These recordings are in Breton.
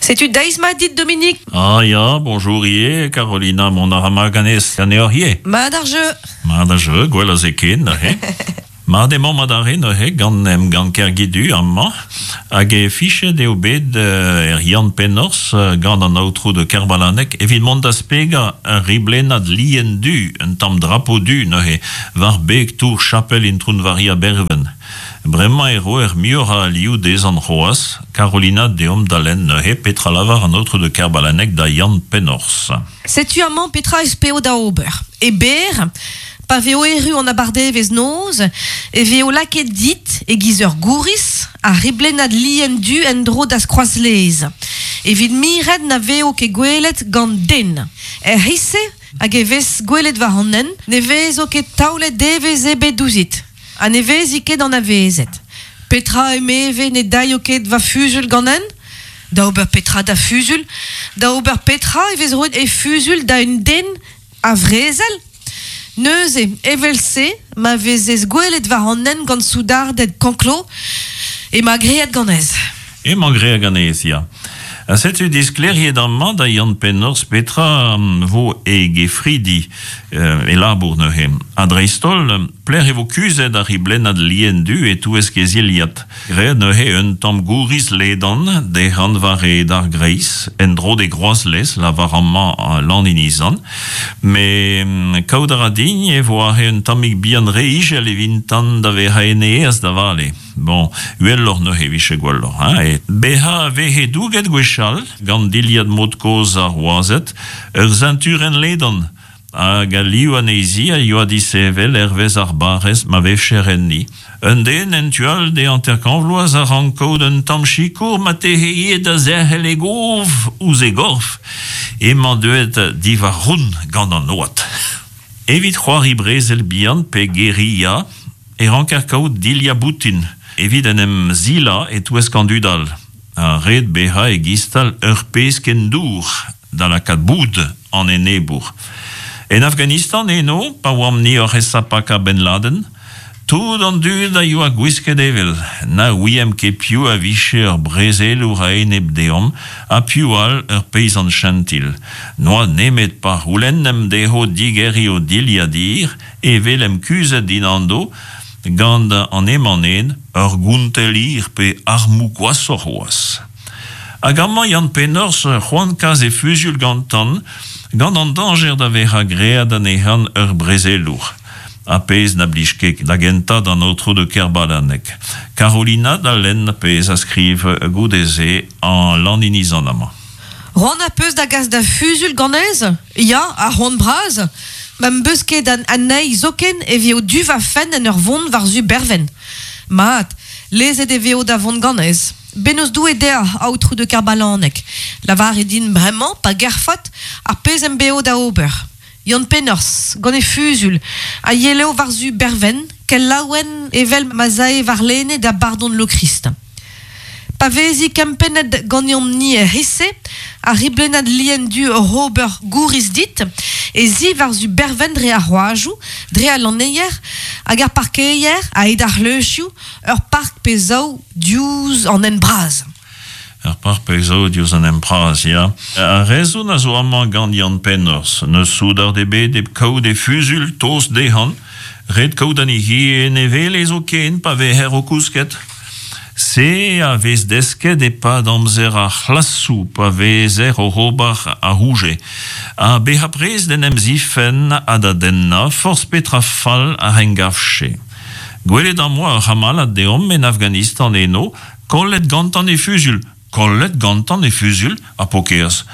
Setu deiz mat dit, Dominique. Ah ya, bonjour ivez, Carolina, mont a ra mat ganez, ganeoc'h ivez. Mat ar jeu. Mat ar jeu, gwell a se ken neuze. Mat emañ mat ar re neuze gant Emgann Kergidu amañ hag e fichet eo bet er Yann Pennorzh gant an aotrou de Kerbalaneg evit mont da spegañ ur riblennad lien du, un tamm drapo du neuze, war beg tour chapel Intron-Varia Berven. Bremañ e roer muioc'h a alioù dezhañ c'hoazh. Carolina, deomp da lenn neuze petra lavar an aotrou de Kerbalaneg da Yann Pennorzh. Setu amañ petra ez peo da ober. E berr, pa vezo erru an abardaevezh noz, e vezo lakaet dit, e-giz ur gouriz, ar riblennad lien du en-dro da'z kroazlez, evit miret na vezo ket gwelet gant den. Er c'hiz-se, hag e vez gwelet war an hent, ne vezo ket taolet devezh ebet ouzhit, ha ne vezi ket anavezet. Petra, emeve, ne daio ket va fuzul ganen? Da ober petra da fuzul? Da ober petra e vez roet e fuzul da un den a vrezel? Neuze, evel-se, ma vezez gwelet war an hent gant soudarded Canclaux, emañ graet ganez. Emañ graet ganez, ya. Ha setu disklêriet amañ da Yann Pennorzh petra vo e gefridi, e labour neuze. Ha dreist-holl, pelec'h e vo kuzhet ar riblennad lien du e-touesk e zilhad. Graet neuze un tamm gouriz ledan dezhañ war e dargreiz, en-dro d'e groazlez, lavar amañ Lan Inizan. Met kaout a ra din e vo aze un tammig bihan re ijel evintan da vezañ en e aes da vale. Bon, uheloc'h neuze e vije gwelloc'h, hein. Bezañ a veze douget gwechall, gant dilhad mod-kozh ar wazed, ur señturenn ledan, hag al liv anezhi a yoa disheñvel hervez ar barrez ma vefjer enni. Un den en tu all d'e hanter-kant vloaz a rank kaout un tamm sikour marteze ivez da zerc'hel e gof ouzh e gorf. Emañ deuet diwar round gant an oad. Evit c'hoari brezel bihan pe guerilla e ranker kaout dilhad boutin evit en em silañ e-touesk an dud all. Ha ret bezañ e-giz-tal ur pezh ken dour da lakaat boud an enebour. En Afghanistan eno, pa oamp-ni oc'h esa pakañ Ben Laden, tout an dud a yoa gwisket evel na ouiemp ket piv a vije ur brezelour a-enep deomp ha piv all ur peizant chentil. N'oa nemet pa c'houlennemp dezho digeriñ o dilhad hir e welemp kuzhet dinando gant an emañ-nen ur gontell hir pe armoù gwashoc'h c'hoazh. Hag amañ Yann Pennorzh c'hoant kas e fuzuilh gantan gant an dañjer da vezañ graet anezhan ur brezelour. Ar pezh na blij ket da gentañ d'an aotrou de Kerbalaneg. Carolina da lenn pezh a skriv goude-se an Lanninizan amañ. C'hoant az peus da gas da fuzuilh ganez? Ya, ar c'hoant bras. Ma 'm beus ket anezhi zoken e vezo du va fenn en ur vont war-zu Berven. Mat, lezet e vezo da vont ganez. Bennozh Doue deoc'h, aotrou de Kerbalaneg. Lavarit din bremañ, pa gerfot, ar pezh em bezo da ober. Yann Pennorzh, gant e fuzul, a yelo war-zu Berven, kel laouen evel ma 'z ae warlene da bardon Lokrist. Pa vezi kempennet ganeomp-ni er c'hiz-se, ar riblennad lien du oc'h ober gouriz dit, ez i war-zu Berven dre ar c'hoajoù, dre al lanneier hag ar parkeier, a-hed ar c'hleuzioù, ur park pe zaou diouzh an hent bras. Ur park pe zaou diouzh an hent bras, ya. Ar rezon a zo amañ gant Yann Pennorzh. N'eus soudard ebet hep kaout e fuzuilh tost dezhañ. Ret kaout anezhi en e wele zoken pa vezer o kousket. Se a vez desket e-pad amzer ar c'hlasoù pa vezer oc'h ober ar c'houge. Ha bezañ prest d'en em zifenn ha da dennañ forzh petra fall a engavche. Gwelet am boa ur c'hamalad deomp en Afghanistan eno, kollet gantañ e fuzuilh, kollet gantañ e fuzuilh, ar paourkaezh.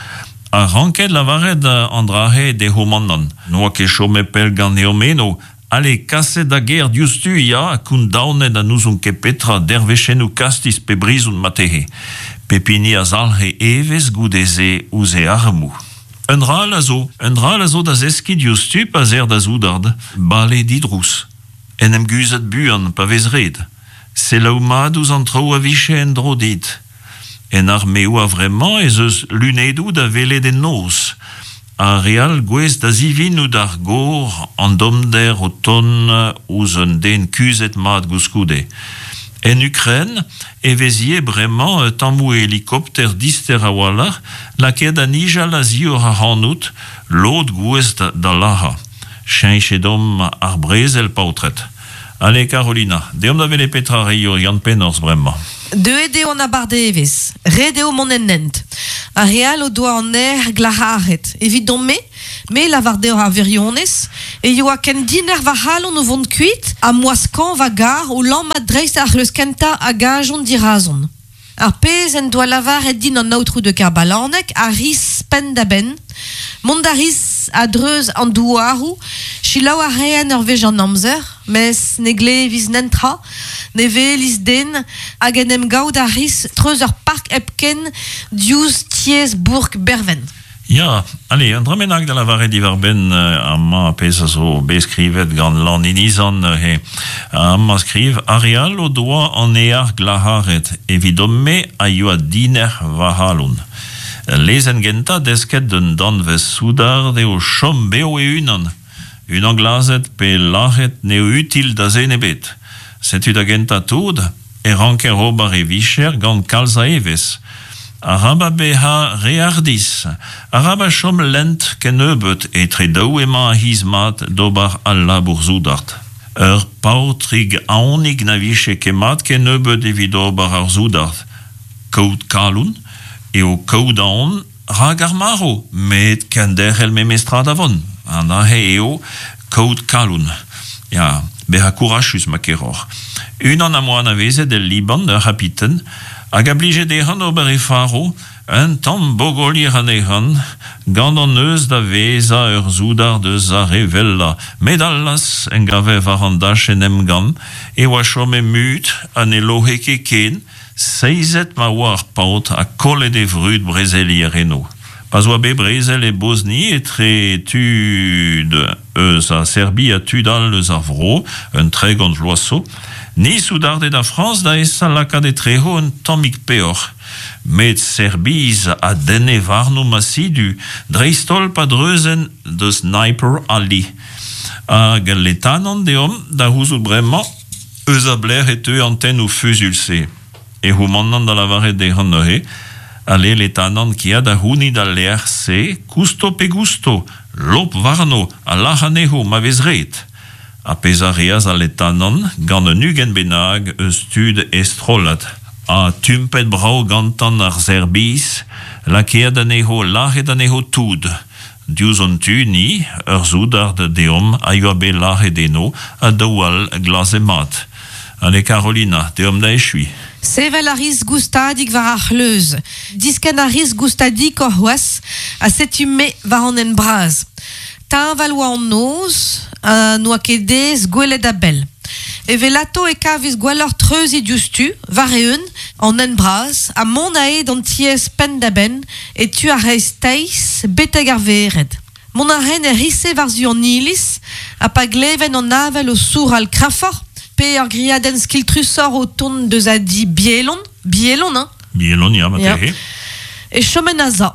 Ha ranket lavaret an dra-se d'e c'homandant. N'oa ket chomet pell ganeomp eno. Ale, kaset da gêr diouzhtu, ya, ha kondaonet ha n'ouzon ket petra, dervezhennoù kastiz pe brizon marteze. Pep hini a zalc'he evezh goude-se ouzh e armoù. Un dra all a zo, un dra all a zo da zeskiñ diouzhtu pa 'z eer da soudard, bale didrouz, en em guzhat buan pa vez ret, selaou mat ouzh an traoù a vije en-dro dit. En armeoù a-vremañ ez eus lunedoù da welet en noz, ha re all gouest da zivinout ar gor an dommder o tont ouzh un den kuzhet mat goulskoude. En Ukraine e vez ivez bremañ tammoù helikopter dister a-walc'h lakaet da nijal a-zioc'h ac'hanout, lod gouest da lazhañ. Cheñchet omp ar brezel, paotred. Ale, Karolina, deomp da welet petra 'reio Yann Pennors bremañ. Deuet eo an abardaevezh. Ret eo mont en hent. Ar re all o doa an aer glac'haret. Evidon-me, me lavar deoc'h ar wirionez, e yoa ken dinec'h va c'halon o vont kuit ha m'oa skañv va gar o lammat dreist ar c'hleuz kentañ a gavjont dirazon. Ar pezh en doa lavaret din an aotrou de Kerbalaneg a ris penn-da-benn. Mont a ris a-dreuz an douaroù, selaou a raen ur wech an amzer, mes ne glevis nentra, ne welis den, hag en em gaout a ris treuz ur park hepken diouzh tiez bourk Berven. Ya, ale, un dra bennak da lavaret diwar-benn amañ ar pezh a zo bet skrivet gant Lan Inizan neuze. Amañ skriv, Ar re all o doa an ear glac'haret, evidon-me a yoa dinec'h va c'halon. Lezenn gentañ desket d'un danvez soudard eo chom bev e-unan. Unan glazet pe lazhet n'eo util da zen ebet. Setu da gentañ tout e ranker ober e vicher gant kalz a evezh. Arabat bezañ re hardizh, arabat chom lent kennebeut, etre daou emañ ar c'hiz mat d'ober al labour soudard. Ur paotrig aonik na vije ket mat kennebeut evit ober ar soudard. Kaout kalon eo kaout aon Rak ar marv, met kenderc'hel memestra da vont, an aze eo kaout kalon. Ya, bezañ kourachus ma keroc'h. Unan am boa anavezet el Liban, ur c'hapiten, hag a blije dezhañ ober e faro, un tamm bogolier anezhañ, gant an neuz da vezañ ur soudard eus ar re wellañ. Met allas, en gaver war an dachenn emgann, e oa chomet mut ha ne loc'he ket ken, Seizet ma oa ar paotr ha kollet e vrud brezelier eno. Pa'z oa bet brezel e Bosni etre tud eus a Serbi ha tud all eus ar vro, un 30 vloaz zo, ni soudarded a Frañs da esa lakaat etrezo un tammig peoc'h. Met Serbiz a denne warnomp asidu, dreist-holl pa dreuzent deus Sniper Ali. Hag al letanant deomp da c'houzout bremañ Eus a belec'h e teu an tennoù fuzuilh-se? E c'houmanant da lavaret dezhañ neuze, Ale letanant kea da c'hounit al lec'h-se, kousto pe gousto, lop warno ha lac'h anezho ma vez ret. Ar pezh a reas al letanant gant un 20 bennak eus tud e strollad, ha tumpet brav gantan ar Serbiz, lakaet anezho, lazhet anezho tout. Diouzh hon tu ni, ur soudard deomp a yoa bet lazhet eno ha daou all glazet mat. Ale Carolina, deomp da echuiñ. Sevel a ris goustadik war ar c'hleuz, diskenn a ris goustadikoc'h c'hoazh, ha setu me war an hent bras. Teñval oa an noz, ha n'oa ket aes gwelet a-bell. Evelato e kavis gwelloc'h treuziñ diouzhtu, war-eeun, an hent bras, ha mont ae d'an tiez penn-da-benn, e tu ar c'hreisteiz, betek ar vered. Mont a raen er c'hiz-se war-zu an iliz, ha pa gleven an avel o sourral kreñfoc'h, pe ur griadenn skiltrusoc'h o tont deus a di Bielon, Bielon, hein? Bielon, ya, marteze. E chomen a-za.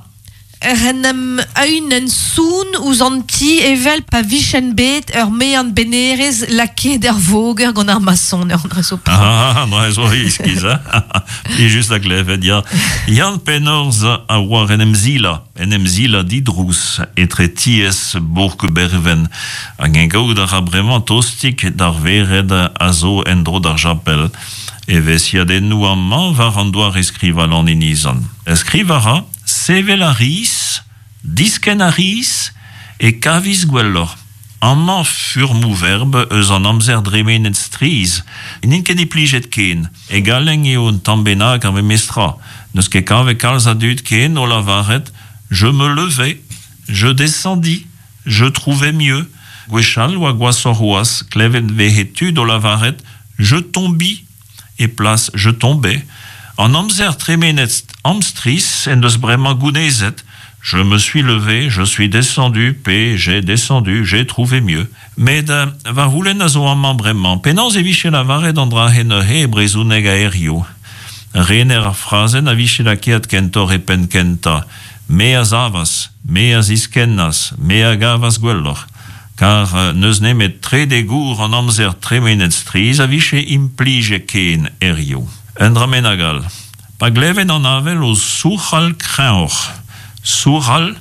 Ec'h en em eünen sounn ouzh an ti evel pa vijen bet ur mean-bennerez lakaet er voger gant ar masoner. An dra zo Ah, an dra zo iskis, hein? Plijus da glevet, ya. Yann Pennorz a oar en em zilañ, en em zilañ didrouz etre tiez bourk Berven. Hag eñ gaout a ra bremañ tostik d'ar vered a zo en-dro d'ar japel. Evezhiadennoù amañ war an doare-skrivañ Lan Inizan. Skrivañ a ra Sevel a ris, diskenn a ris, e kavis gwelloc'h. Amañ furmoù verb eus an amzer dremenet strizh n'int ket implijet ken. E galleg eo un tamm bennak ar memes tra. N'eus ket kavet kalz a dud ken o lavaret je me levais, je descendis, je trouvais mieux. Gwechall oa gwashoc'h c'hoazh, klevet 'veze tud o lavaret je tombis. E plas je tombais, an amzer tremenet amstrizh en deus bremañ gounezet Je me suis levé, je suis descendu pe j'ai descendu, j'ai trouvé mieux. Met va c'houlenn a zo amañ bremañ, penaos e vije lavaret an dra-se neuze e brezhoneg a-hiziv? Rener ar frazenn a vije lakaet kentoc'h e penn kentañ, Me a savas, me a ziskennas, me a gavas gwelloc'h. Kar n'eus nemet trede gour an amzer tremenet strizh a vije implijet ken hiziv. Un dra bennak all. Pa gleven an avel o souc'hal kreñvoc'h. Souc'hal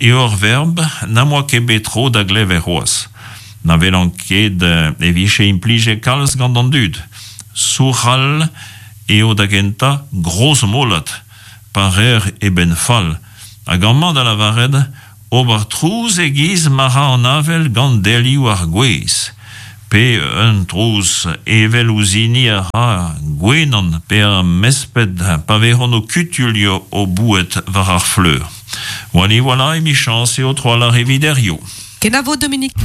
eo ur verb n'am boa ket bet tro da glevet c'hoazh. Na welan ket e vije implijet kalz gant an dud. Souc'hal eo da gentañ grozmolat pa reer e benn fall. Hag amañ da lavaret Ober trouz e-giz ma ra an avel gant delioù ar gwez, pe un trouz evel ouzh hini a ra gwenan pe ar mesped pa vezont o kutuilh o boued war ar fleur. Voilà, voilà, emichañs eo tro-walc'h evit hiziv. Kenavo Dominique.